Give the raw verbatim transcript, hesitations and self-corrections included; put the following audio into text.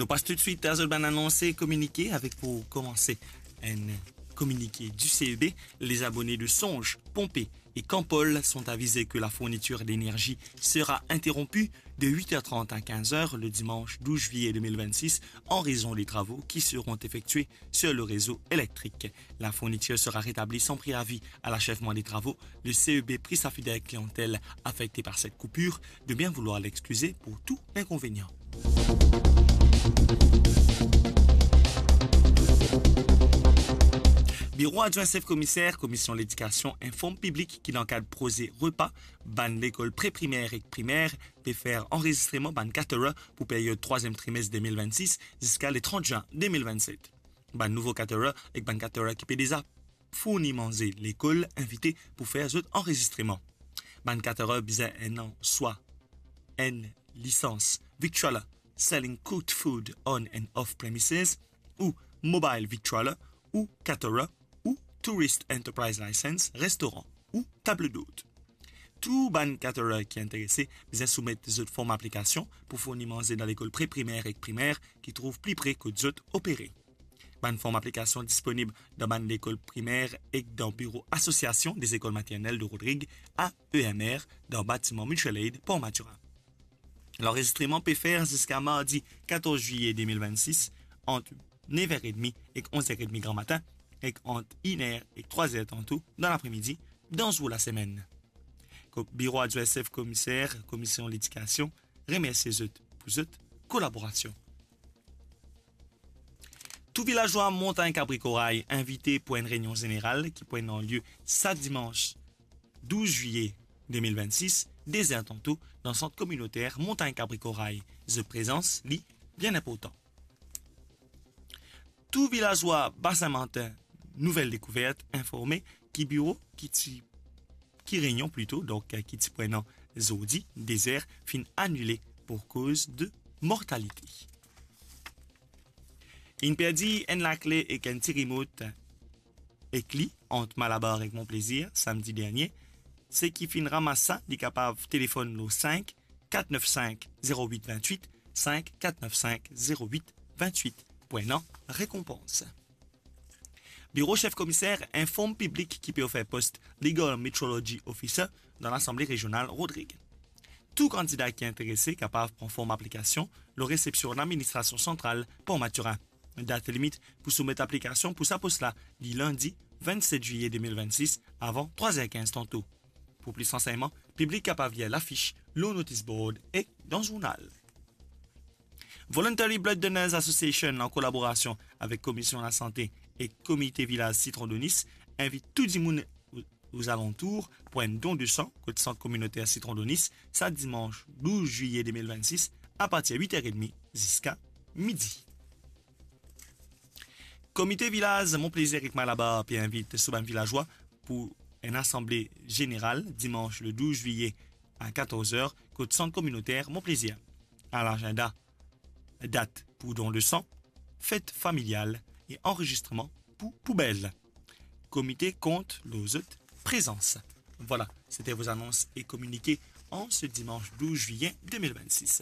On passe tout de suite à zot bann anons e kominike, avec pour commencer un communiqué du C E B. Les abonnés de Songe, Pompée et Campol sont avisés que la fourniture d'énergie sera interrompue de huit heures trente à quinze heures le dimanche douze juillet deux mille vingt-six en raison des travaux qui seront effectués sur le réseau électrique. La fourniture sera rétablie sans préavis à l'achèvement des travaux. Le C E B prie sa fidèle clientèle affectée par cette coupure de bien vouloir l'excuser pour tout inconvénient. Biro adwin sef komiser Komision Ledikasion inform piblik ki dan kad proze repa, bann lekol pre-primer ek primer pe fer anrezistreman bann caterer pou period trwaziem trimes de mil vennsis ziska le trant zin de mil vennset. Bann nouvo caterer ek bann caterer ki pe deza fourni manze lekol invite pou fer zot anrezistreman. Bann caterer bizin ena swa enn lisans victualler, selling cooked food on and off premises, ou mobile victualler, ou caterer, ou tourist enterprise license, restoran, ou table d'hôte. Tou bann caterer ki interese bizin soumet zot form aplikasion pou fourni manze dan lekol pre-primer ek primer ki trouv pli pre kot zot opere. Bann form aplikasion disponib dan bann lekol primer ek dan biro Association des Écoles Maternelles de Rodrigues, A E M R, dan batiman Mutual Aid, Port Mathurin. Lanrezistreman pe fer ziska mardi katorz zilie de mil vennsis, ant nev er edmi ek onz er edmi gramatin, ek ant inn er ek trwa zer tanto dan lapremidi, dan zour lasemenn. Ko-, Biro adwin sef komiser Komision Ledikasion remersie zot pou zot kolaborasion. Tou vilazwa Montagn Kabri Koray invite pou enn reynion zeneral ki pou ena lie sa dimans douz zilie de mil vennsis, de zer tanto, dan sant kominoter Montagn Kabri Koray. Zot prezans, li, bien inportan. Tou vilazwa Basin Martin Nouvel Dekouvert informe ki biro ki ti, ki reynion plito, donk, ki ti pou ena zordi, de zer, finn anile pou koz de mortalite. Inn perdi enn lakle ek enn ti remot ek li ant Malabar ek Mon Plaisir, samdi dernie. Seki finn ramas sa, li kapav telefonn lor sink kat nef sink zeroit vintwit, sink kat nef sink zeroit vintwit, pou ena rekonpans. Biro sef komiser inform piblik ki pe ofer post Legal Metrology Officer dan Lasanble Rezional Rodrig. Tou kandida ki interese kapav pran form aplikasion lor resepsion Ladministrasion Santral Port Mathurin. Dat limit pou soumet aplikasion pou sa pos la, li lindi vennset zilie de mil vennsis, avan trwa zer kinz tanto. Pou plis ransegnman, piblik kapav lir lafis lor notis board ek dan zournal. Voluntary Blood Donors Association, an kolaborasion avek Komision Lasante ek Komite Vilaz Sitron Donis, invit tou dimoun o-, ozalantour pou enn don de san kot sant kominoter Sitron Donis, sa dimans douz zilie de mil vennsis, apartir wit er edmi ziska midi. Komite Vilaz Mon Plaisir ek Malabar pe invit so bann vilazwa pou enn asanble zeneral dimans le douz zilie a katorz er kot sant kominoter Mon Plaisir. A lazinda, dat pou don de san, fet familial e anrezistreman pou poubel. Komite kont lor zot prezans. Voilà, c'était vos annonces et communiqués en ce dimanche douze juillet deux mille vingt-six.